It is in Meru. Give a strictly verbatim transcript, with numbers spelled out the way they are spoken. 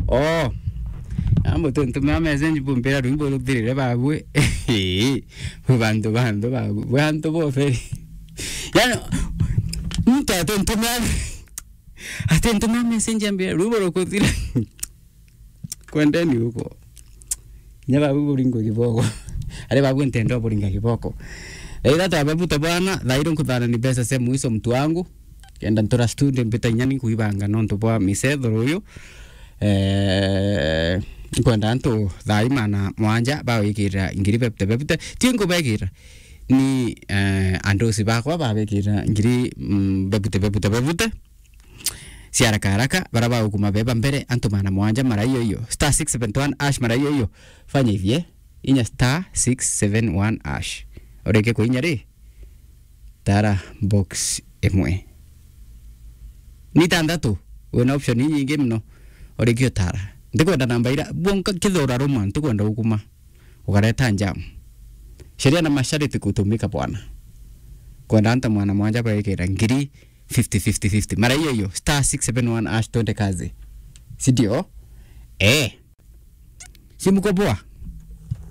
Oh. Ambo tu ntumira message bumbira rwimbo ruthirire babwe. Bwi bantu, bantu babwe. Bwi antu boferi. Yani, muntu atuntumira, atuntumira message ambira rwimbo rukuthira. Kwendeni huko. Kinya babu buringwe kiboko. Ari babu ntendo buringa kiboko. Thaa ithatatu ababuta bwana, thaa iria nkuthana ni mbeca cia mwiso mtu wangu. Kenda ntura studio mbita inya ni nkuibanga nontu bwa misethoro uyu. Eh, nkwenda antu thaa imana mwanja bawikira ngiri bebute bebute. Ti nkubekira. Ni, eh, andusi bakwa babikira ngiri, mm, bebute bebute bebute. Cia haraka haraka, bara bagukuma beba mbere, antu magana mwanja mara iyo iyo. Star six seven one hash mara iyo iyo. Fanya ivie, inya star six seven one hash. Ureke kuinya ri, tara box imwe. Ni itandatu, wina option inyingi muno. Ureke utara. Ndikwenda namba ira, bwonka kithura ruma, ntikwenda ukuma. Ukareta njamu. Sheria na masharti kutumika bwana. Kwenda anta mwana mwanja baikira ngiri fifty, fifty, fifty. Mara iyo iyo, star six seven one hash twende kazi. Si ndio? Eh. Simu kwa bwa.